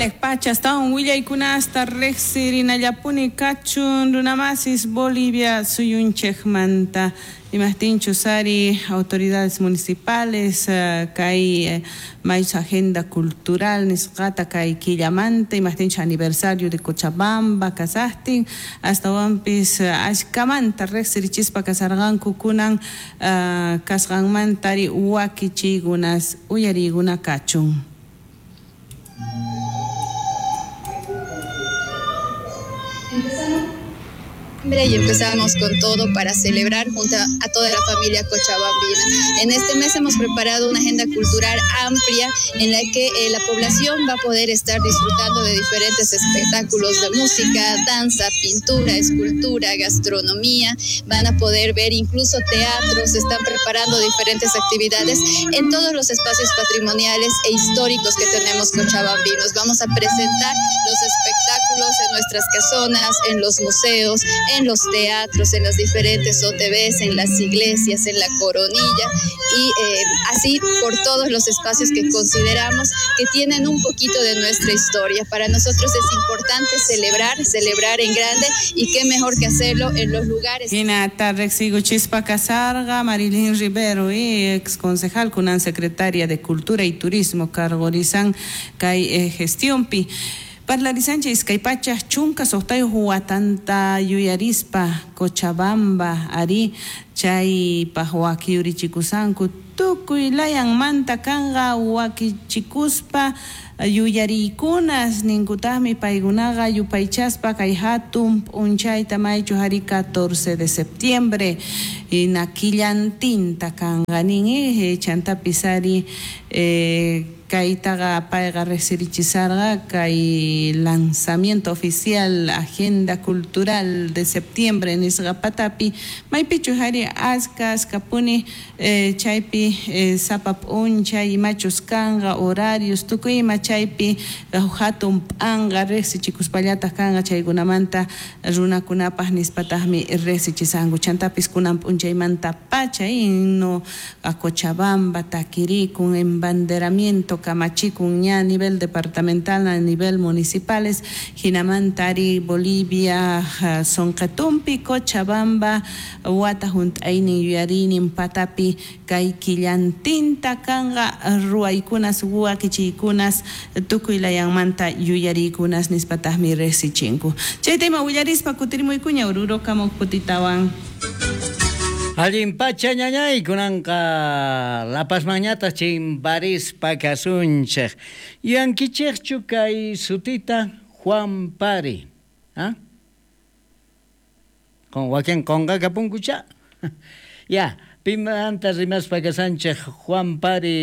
Janaj pacha astawan willaykunasta riqsirinallapuni kachun runamasis Bolivia suyunchikmanta. Imajtinchus ari autoridades municipales kay maychus agenda cultural nisqata kay killamanta imajtinchus aniversario de Cochabamba kasaqtin astawanpis ashkamanta riqsirichispa kasarqanku kunan kasqanmanta ari wakichiykunas uyariykuna kachun. Y empezamos con todo para celebrar junto a toda la familia cochabambina. En este mes hemos preparado una agenda cultural amplia en la que la población va a poder estar disfrutando de diferentes espectáculos de música, danza, pintura, escultura, gastronomía. Van a poder ver incluso teatro, se están preparando diferentes actividades en todos los espacios patrimoniales e históricos que tenemos cochabambinos. Vamos a presentar los espectáculos en nuestras casonas, en los museos, en los teatros, en las diferentes OTVs, en las iglesias, en la Coronilla y así por todos los espacios que consideramos que tienen un poquito de nuestra historia. Para nosotros es importante celebrar, celebrar en grande y qué mejor que hacerlo en los lugares. Hinata riqsiykuchispa kasarqa Marilyn Rivero, ex concejal kunan secretaria de Cultura y Turismo cargorizan kay gestionpi. Parlarisanchik iskay pachak chunka suqtayuq watanta yuyarispa Cochabamba ari chaypaq wakiyurichikusanku tukuy layanmanta kanqa wakichikuspa yuyariykunas ninkutaqmi paykunaqa yupaychaspa kay hatun p'unchayta maychu ari 14 de septiembre hina killantinta kanqa nin chantapis ari kaytaqa payqa riqsirichisarqa kay lanzamiento oficial agenda cultural de septiembre nisqa patapi maypichu ari aska askapuni chaypi sapa p'unchay imachus kanqa horarios tukuy ima chaypi hatun p'anqa riqsichikuspallataq kanqa chaykunamanta runakunapaq nispataqmi riqsichisanku chantapis kunan p'unchaymanta pacha himno a Cochabamba takirikun embanderamiento kamachikun ña a nivel departamental a nivel municipales hinamanta ari Bolivia sonqatumpi Cochabamba wata hunt'aynin yuyariynin patapi kay killantinta kanqa ruwaykunas wakichiykunas tukuy layanmanta yuyariykunas nispataqmi riqsichinku. Chayta ima willarispa kutirimuykuña Oruro kamuq kutitawan. Allin pacha ñañay kunanqa La Pazmanñataq chimbarispa kasunchik. Yuyankichikchu kay sutita Juan Pari, ¿ah? Con wakin qunqakapunkucha. Ya, pimanta rimaspa kasanchik Juan Pari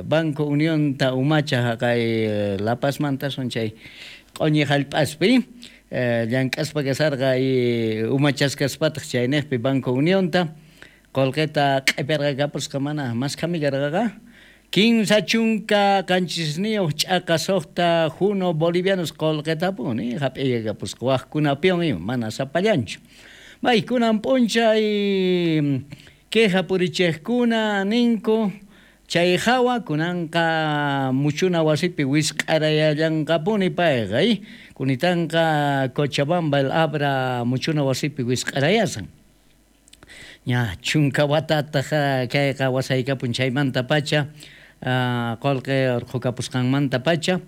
Banco Unionta umacha kay La Pazmanta son chay q'uñi hallp'aspi. Llank'aspa kasarqa y umachaskaspataq chayniqpi Banco Unionta qullqita q'ipirqakapusqa mana maskhami karqaqa 37 ch'aqa 6 juno bolivianos qullqitapuni hap'iyakapusqa waqkunapiwan ima mana sapallanchu. May kunan p'unchay queja purichiqkuna ninku chay hawa kunanqa muchuna wasipi wisq'arayallanqapuni payqa kunitanqa Cochabamba el Abra muchuna wasipi wisq'arayasan. Ña chunka watataq kayqa wasaykapun chaymanta pacha qullqi urqhukapusqanmanta pacha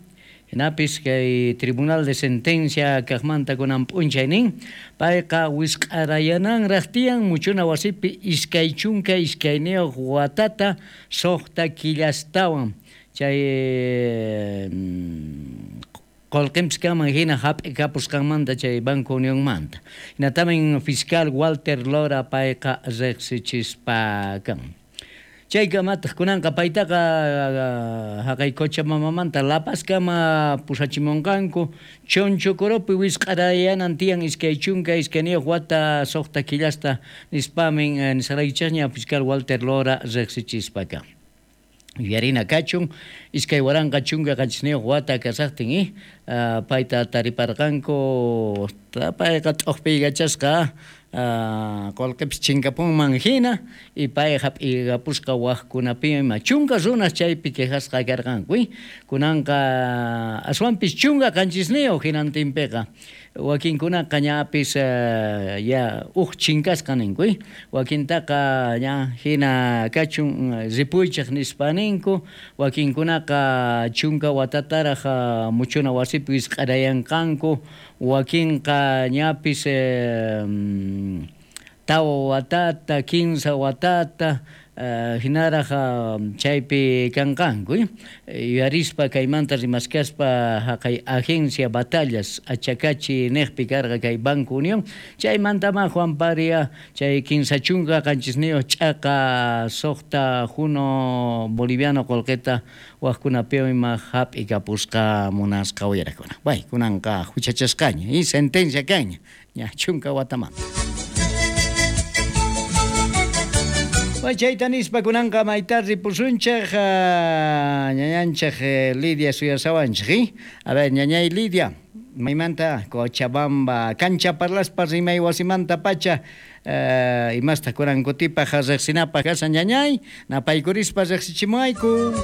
hinapis kay tribunal de sentencia kaqmanta kunan p'unchay nin payqa wisq'arayananraq tiyan muchuna wasipi 22 watata 6 killastawan chay qullqinpis kanman hina hap'ikapusqanmanta chay Banco Unionmanta. Hinatamin fiscal Walter Lora payqa riqsichispa kan. Chaykamataq kunanqa paytaqa haqay Cochabambamanta La Pazkama pusachimunqanku Chonchocoropi wisq'arayanan tiyan 22 wata 6 killasta nispamin nisqaraykichikña fiscal Walter Lora riqsichispa kan. Yuyarina kachun 2017 wata kasaqtin payta tariparqanku payqa t'uqpiykachasqa Qolqepis chinkapunman hina y pay hap'igapusqa wajkunapi ima chunka runas chaypi quejasqa karqanku kunanqa aswanpis chunka qanchisniyuq hinantinpiqa wakinkunaqa ñapis ya uj chinkasqa ninku wakintaqa ña hina kachun ripuychaq nispa ninku wakinkunaqa chunka watataraq muchuna wasipi wisq'arayanqanku wakinqa ñapis tawa watata 15 watata hinaraq chaypi kanqanku yuyarispa kaymanta rimaskaspa haqay agencia Batallas Achacachi niqpi karqa kay Banco Unión chaymantama Juan Paria chay 37 ch'aqa 6 juno boliviano qolqeta wajkunapi ima hap'ikapusqa munasqa uyarakuna bay kunanqa huchachasqaña y sentencia kaña ña chunka watamanta. Chayta nispa kunanqa mayta ripusunchej ñañanchej Lidia suyasawanchej. A ver, ñañay Lidia, maymanta Cochabamba, cancha parlaspa rimay wasimanta pacha imasta kunan kutipaj riqsinapaj kasan ñañay, napaykurispa riqsichimuayku.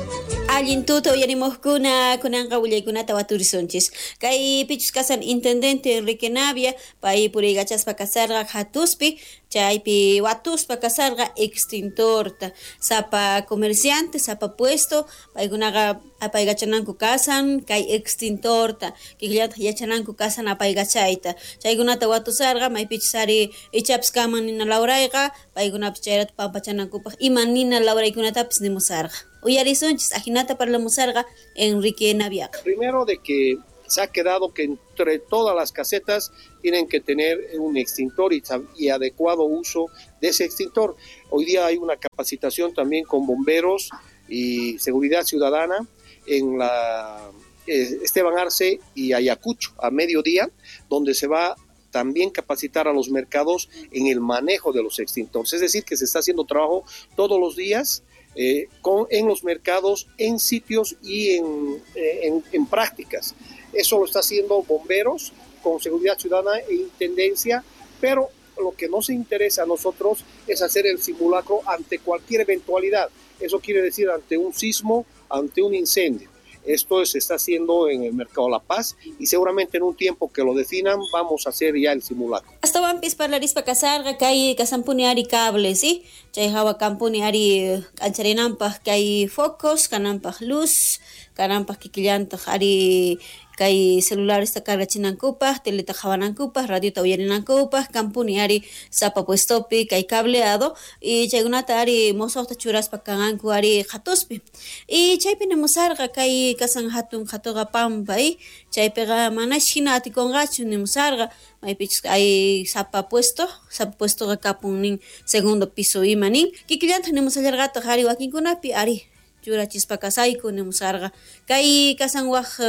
Allin tuta uyarimojkuna kunanqa willaykunata waturisunchis. Kay pichus kasan intendente Enrique Navia, pay puriykachaspa kasarqa hatuspi, chaypi watuspa kasarqa extintorta. Sapa comerciante, sapa puesto, paykunaqa apaykachananku kasan kay extintorta, kikillataq yachananku kasan apaykachayta. Chaykunata watusarqa maypichus ari ichapis kaman nina lawrayqa, paykunapis chayrata pampachanankupaq ima nina lawraykunatapis nimusarqa. Uyarisunchis, ajinata parlamusarqa Enrique Navia. Primero de que se ha quedado que entre todas las casetas tienen que tener un extintor y adecuado uso de ese extintor. Hoy día hay una capacitación también con bomberos y seguridad ciudadana en la Esteban Arce y Ayacucho a mediodía, donde se va también capacitar a los mercados en el manejo de los extintores. Es decir, que se está haciendo trabajo todos los días en los mercados, en sitios y en prácticas. Eso lo está haciendo bomberos con seguridad ciudadana e intendencia, pero lo que nos interesa a nosotros es hacer el simulacro ante cualquier eventualidad. Eso quiere decir ante un sismo, ante un incendio. Esto se está haciendo en el Mercado La Paz y seguramente en un tiempo que lo definan vamos a hacer ya el simulacro. Astawanpis parlarispa kasarqa kay kasampuni ari cables, ¿sí? Chay hawa kampuni ari k'ancharinanpaj kay focos, kananpaj luz, kananpaj kikillantaq ari kay celulares ta cargachinankupaj, teleta qhawanankupaj, radiota uyarinankupaj, kampuni ari sapa puestopi kay cableado y chaykunata ari mosoqta churaspa kanqanku ari qhatuspi. Y chaypi nimusarqa kay kasan hatun qhatuqa pampa y chaypiqa manash hina atikunqachu nimusarqa maypichus ay sapa puestoqa kapun nin segundo piso ima nin kikillantaq nimusallarqataq ari wakinkunapi ari churachispa kasayku nimusarqa kay kasan waj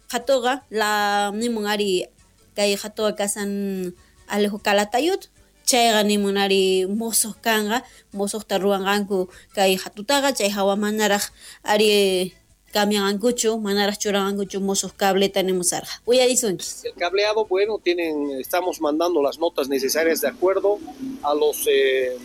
qhatuqa la nimun ari kay qhatuqa kasan Alejo Calatayud chayqa nimun ari mosoq kanqa mosoqta ruwanqanku kay qhatutaqa chay hawa manaraq ari cambianqankuchu manaraq churanqankuchu mosoq cableta nimusarqa. Uyarisunchis. El cableado, bueno, estamos mandando las notas necesarias de acuerdo a los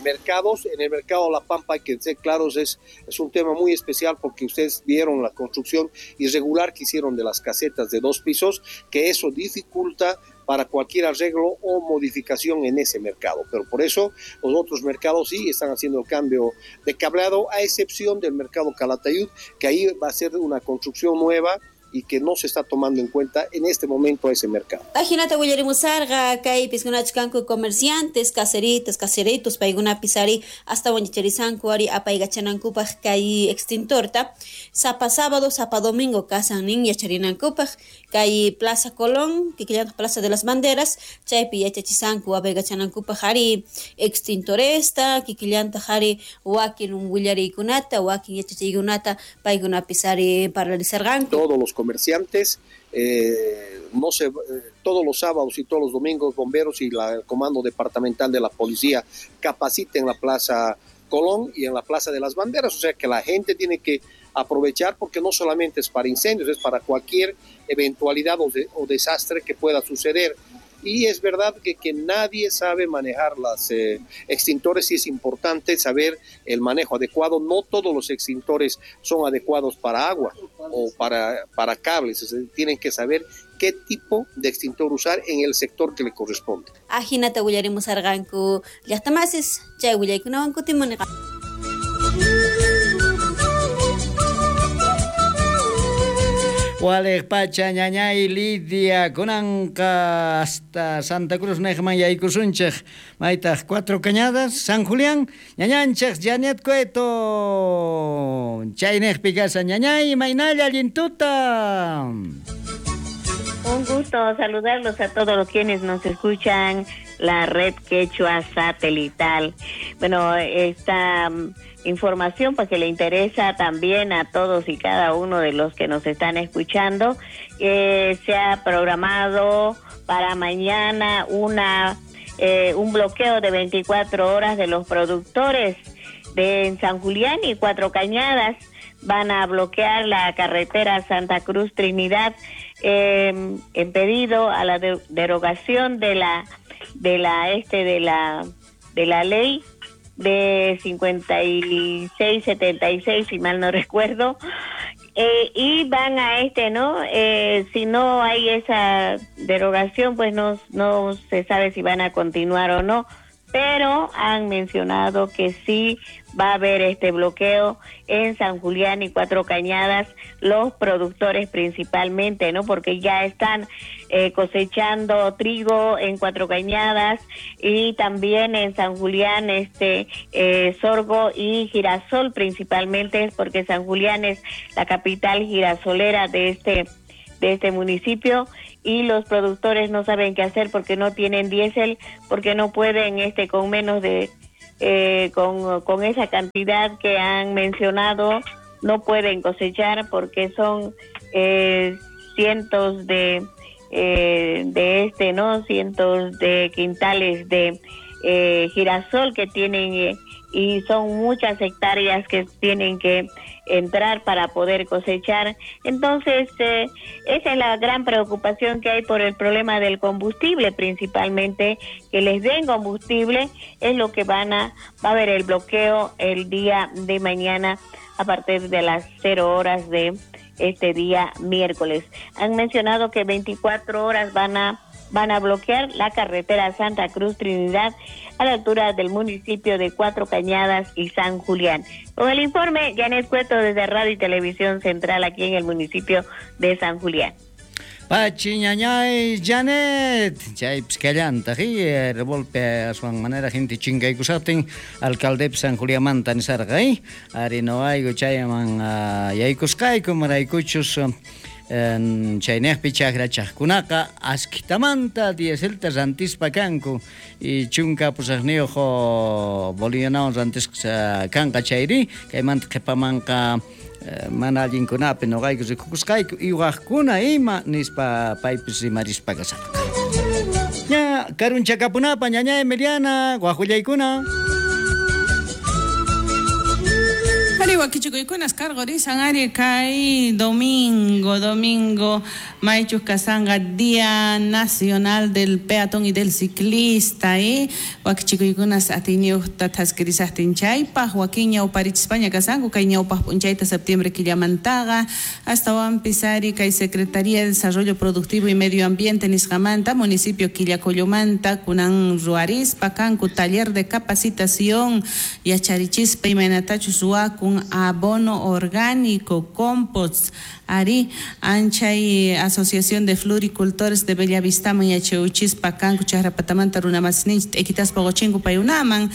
mercados. En el mercado La Pampa, hay que ser claros, es un tema muy especial porque ustedes vieron la construcción irregular que hicieron de las casetas de 2 pisos, que eso dificulta para cualquier arreglo o modificación en ese mercado. Pero por eso los otros mercados sí están haciendo el cambio de cableado, a excepción del mercado Calatayud, que ahí va a ser una construcción nueva y que no se está tomando en cuenta en este momento a ese mercado. Ajinata willarimusarqa kay piskunachkanku comerciantes, caseritas, caseritos, paykunapis ari hasta wañicharisanku ari apaykachanankupaj kay extintorta. Sapa sábado, sapa domingo kasan nin yacharinankupaj kay Plaza Colón, kikillantaq Plaza de las Banderas, chaypi yachachisanku apaykachanankupaj ari extintoresta, kikillantaq ari wakin willariykunata, wakin yachachiykunata paykunapis ari parlarisarqanku. Todos los comerciantes, todos los sábados y todos los domingos, bomberos y el comando departamental de la policía capaciten la Plaza Colón y en la Plaza de las Banderas, o sea que la gente tiene que aprovechar porque no solamente es para incendios, es para cualquier eventualidad o desastre que pueda suceder. Y es verdad que nadie sabe manejar las extintores, y es importante saber el manejo adecuado. No todos los extintores son adecuados para agua o para cables. O sea, tienen que saber qué tipo de extintor usar en el sector que le corresponde. Ajinata willarimusarqanku llaqtamasis chay willaykunawan kutimuniqa. Walej pacha ñañay Lidia kunanqa hasta Santa Cruz nejman yaykusunchej maytaj Cuatro Cañadas San Julián ñañanchej Janet Cueto chaynejpi kasa ñañay maynalla allintuta. Un gusto saludarlos a todos los quienes nos escuchan la red Quechua Satelital. Bueno, esta información pues que le interesa también a todos y cada uno de los que nos están escuchando. Se ha programado para mañana un bloqueo de 24 horas de los productores de San Julián y Cuatro Cañadas. Van a bloquear la carretera Santa Cruz Trinidad en pedido a la derogación de la ley de 5676, si mal no recuerdo, y van a si no hay esa derogación, pues no se sabe si van a continuar o no, pero han mencionado que sí va a haber este bloqueo en San Julián y Cuatro Cañadas, los productores principalmente, ¿no? Porque ya están cosechando trigo en Cuatro Cañadas y también en San Julián, sorgo y girasol principalmente, porque San Julián es la capital girasolera de este municipio, y los productores no saben qué hacer porque no tienen diésel, porque no pueden con menos de con esa cantidad que han mencionado no pueden cosechar, porque son cientos de cientos de quintales de girasol que tienen, y son muchas hectáreas que tienen que entrar para poder cosechar. Entonces, esa es la gran preocupación que hay por el problema del combustible, principalmente, que les den combustible, es lo que va a haber el bloqueo el día de mañana a partir de las 0 horas de este día miércoles. Han mencionado que 24 horas van a bloquear la carretera Santa Cruz Trinidad a la altura del municipio de Cuatro Cañadas y San Julián. Con el informe, Janet Cueto desde Radio y Televisión Central aquí en el municipio de San Julián. Pachi ñañay Janet, chay pizcallanta, revolpe aswan manera gente chinkaykusatin, alcalde San Juliánmanta nisarqa, ari no aygu chayman yaykusqayku maraykuchus chaynejpi chakrachaqkunaqa askitamanta dieselta rantispa kanku y chunka pusaqniyuq bolivianawan rantisqa kanqa chayri kaymanta qhipamanqa mana allinkunapi noqayku rikukusqayku iwaqkuna ima nispa paypis rimarispa kasarqa. Ña karunchakapunapa ñaña Emiliana wajullaykuna. Ari wakichikuykunas cargorisan ari kay domingo maychus kasanga Día Nacional del Peatón y del Ciclista, wakichikuykunas atiñuqta thaskirisaqtin chaypaq wakin ñawparichispaña kasanku kay ñawpaq p'unchayta septiembre killamantaqa astawanpis ari kay Secretaría de Desarrollo Productivo y Medio Ambiente nisqamanta municipio Quillacollomanta kunan ruarispa kanku taller de capacitación yacharichispa imaynatachus ruwakun abono orgánico, compost, ari anchay Asociación de Floricultores de Bellavista yacheuchispa kanku chaqrapatamanta runamasninchik t'ekitaspa quchinku payunaman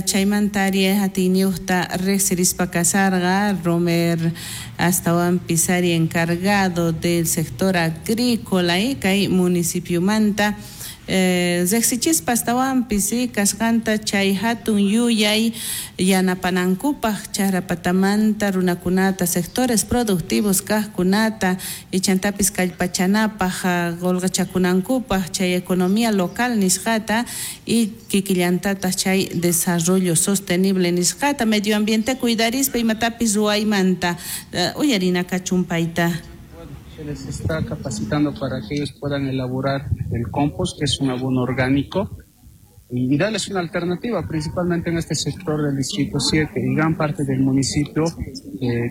chaymanta ari atiyniyuqta riqsirispa kasarqa Romer astawanpis ari encargado del sector agrícola kay municipiomanta riqsichispa astawanpis kasqanta chay hatun yuyay yanapanankupaq chaqrapatamanta runakunata sectores productivos kaqkunata ichantapis kallpachanapaq qulqichakunankupaq chay economía local nisqata y kikillantataq chay desarrollo sostenible nisqata medio ambiente cuidarispa imatapis ruwaymanta uyarina kachunpayta. Se les está capacitando para que ellos puedan elaborar el compost, que es un abono orgánico, y darles una alternativa, principalmente en este sector del Distrito 7 y gran parte del municipio.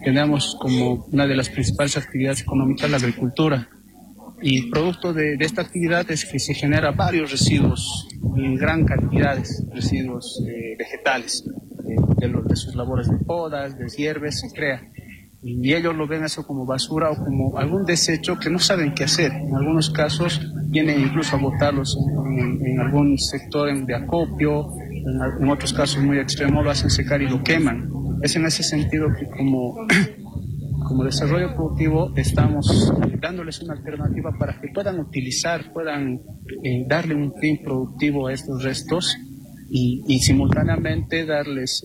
Tenemos como una de las principales actividades económicas la agricultura, y producto de esta actividad es que se genera varios residuos, en gran cantidades, residuos vegetales, de sus labores de podas, de hierbes, se crea. Y ellos lo ven eso como basura o como algún desecho que no saben qué hacer. En algunos casos vienen incluso a botarlos en algún sector de acopio, en otros casos muy extremos lo hacen secar y lo queman. Es en ese sentido que como desarrollo productivo estamos dándoles una alternativa para que puedan utilizar, puedan darle un fin productivo a estos restos y simultáneamente darles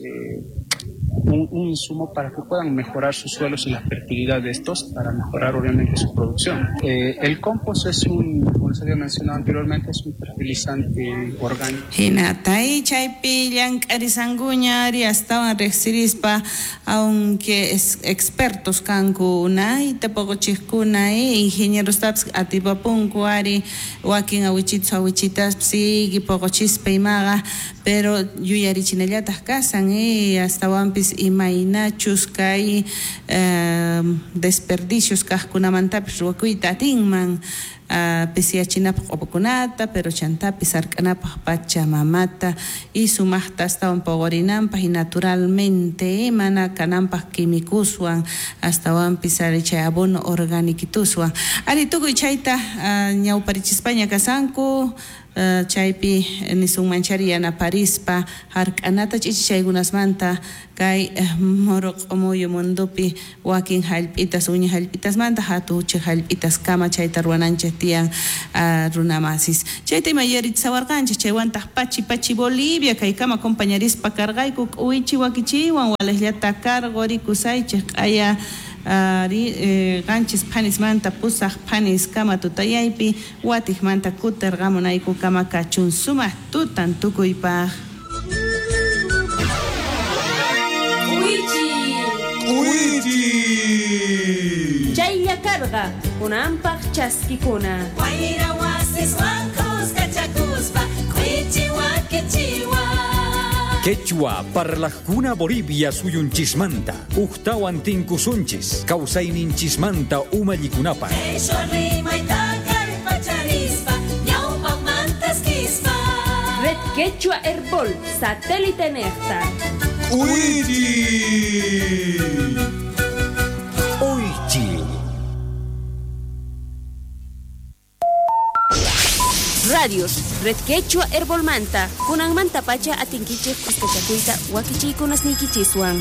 un insumo para que puedan mejorar sus suelos y la fertilidad de estos para mejorar obviamente su producción. El compost es como les había mencionado anteriormente, es un fertilizante orgánico. Hinatay chaypi llank'arisankuña ari astawan riqsirispa, aunque es expertos kanku unayta poqochiqkuna, ingenieros atipapunku ari wakin awichitus awichitas sigue poqochispa imaqa, pero yuyarichinallataq kasan astawanpis imaynachus kay desperdicios kaqkunamantapis ruwakuyta atinman pisiyachinapaq q'upakunata, pero chantapis hark'anapaq pachamamata y sumaqta astawan poqorinanpaq y naturalmente mana kananpaq quimikuswan astawanpis ari chay abono organiquituswan ari tukuy chayta ñawparichispaña kasanku chaypi nisunmanchari yanaparispa hark'anata ch'ichichaykunasmanta kay Morocco mundupi wakin hallp'itas uña hallp'itasmanta hatuchej hallp'itas kama chayta ruwananchej tiyan runamasis chayta ima yarichisawarqanchej chaywantaq pachi pachi Bolivia kaykama compañarispa karqayku k'uwichi wakichiwan walejllata karqo rikusaychej q'aya qanchis phanismanta pusaq phanis kama tutayaypi watiqmanta kutirqamunayku kama kachun sumaq tutan tukuypaq. K'uwichi Chaylla karqa kunanpaq chaskikuna. Wayra wasiswan kuskachakuspa k'uwichi wakichiwan. Quechua parlajkuna Bolivia suyunchismanta uktawan tinkusunchis kawsayninchismanta umallikunapaq. Red Quechua Herbol satélite nefta. Uichi. Uichi. Radios Red Quechua Herbolmanta kunanmanta pacha atinkichej kuskachakuyta wakichiykunasniykichiswan.